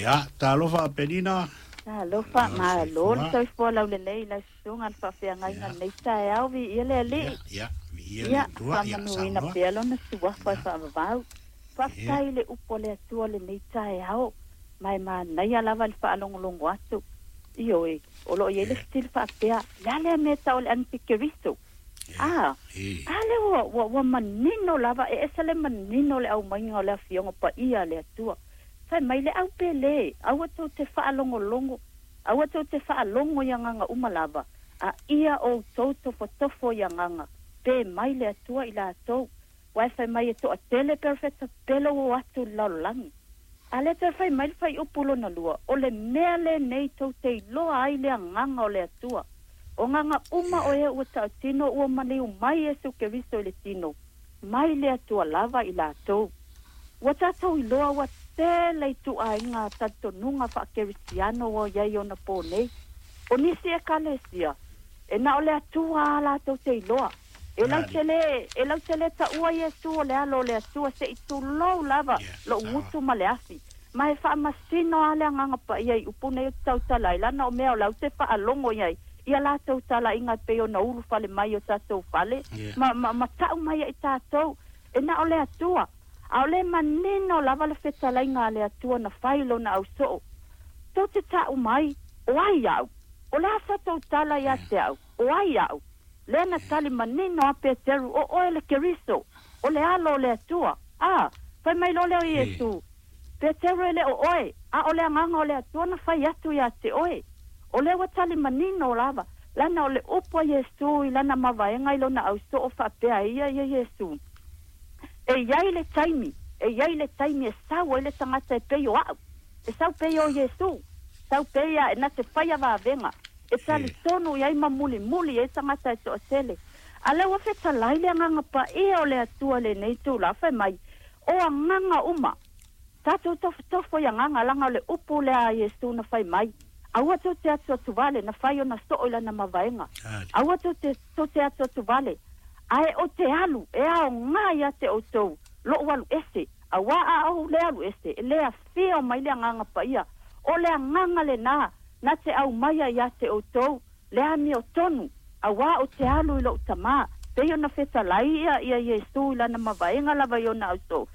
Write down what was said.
Ia, talofa Penina. Talofa, Ia, malo le soifua. Soifua laulelei i lau susuga le faafeagaiga i lenei taeao, viia le Alii. Ia, ia, viia le Ia, Atua, ia, faamanuina saunoa. Pea lona suafa e faavavau. Faafetai i le upu a le Atua i lenei taeao, ma e manaia lava le faalogologo atu. Ioe, o lo o i ai le fesili faapea, le a lea mea e tau o le antikeriso? A, a lea ua, ua, ua manino lava, e ese le manino o le aumaiga o le Afioga Paia a le Atua. Fai mai le au pele, aua tou te faalogologo, aua tou te faalogo i agaga uma lava, a ia outou tofotofo i agaga, pe mai le Atua i latou. Uae fai mai e toatele perofeta pele ua o atu i le lalolagi. A lea toe fai mai le fuaiupu lona lua, o le mea lenei tou te iloa ai le agaga o le Atua. O agaga uma o e ua tautino ua maliu mai Iesu Keriso i le tino, mai le Atua lava i latou. Ua tatou iloa ua tele ituaiga talitonuga faakerisiano ua i ai onapō nei. O nisi ekalesia, e na o le Atua lava latou te iloa. E lautele, e lautele taua Iesu o le Alo o le Atua se i tulou lava lou gutu ma le afi. Ma e faamasino lava le Agaga Paia i upu nei ou te tautala ai, leaga o mea o la ou te faalogo i ai i a latou talaiga e pei ona ulufale mai i o tatou fale ma, ma, ma tau mai ai tatou e na o le Atua. A o le manino lava le fetalaiga a le Atua na fai i lona ausoo. Tou te tau mai, o ai au? O le a sa tou tala ia te au? O ai au? Lea na tali manino a Peteru, o oe le Keriso, o le Alo o le Atua. A, fai mai loa lea o Iesu, Peteru e le o oe, a o le agaga o le Atua na fai atu ia te oe. O lea ua tali manino lava, lana o le upu a Iesu i lana mavaega i lona ausoo faapea ia ia Iesu. E i ai le taimi, e i ai le taimi e sau ai le tagata e pei o au, e sau pei o Iesu, sau pei a e na te faia vavega, e talitonu i ai ma mulimuli ai tagata e toatele. A lea ua fetalai le agaga paia o le Atua i lenei itula, fai mai, o agaga uma, tatou tofotofo i agaga, leaga o le upu lea a Iesu na fai mai, aua tou te atuatu vale, na fai ona soo i lana mavaega. Aua tou te, tou te atuatu vale, ae ou te alu e aoga ia te outou lou alu ese, auā a ou le alu ese, e le afio mai le Agaga Paia. O le agaga lenā na te aumaia ia te outou le amiotonu, auā ou te alu i lou Tamā. Pei ona fetalai ia ia Iesu i lana mavaega lava i ona ausoo.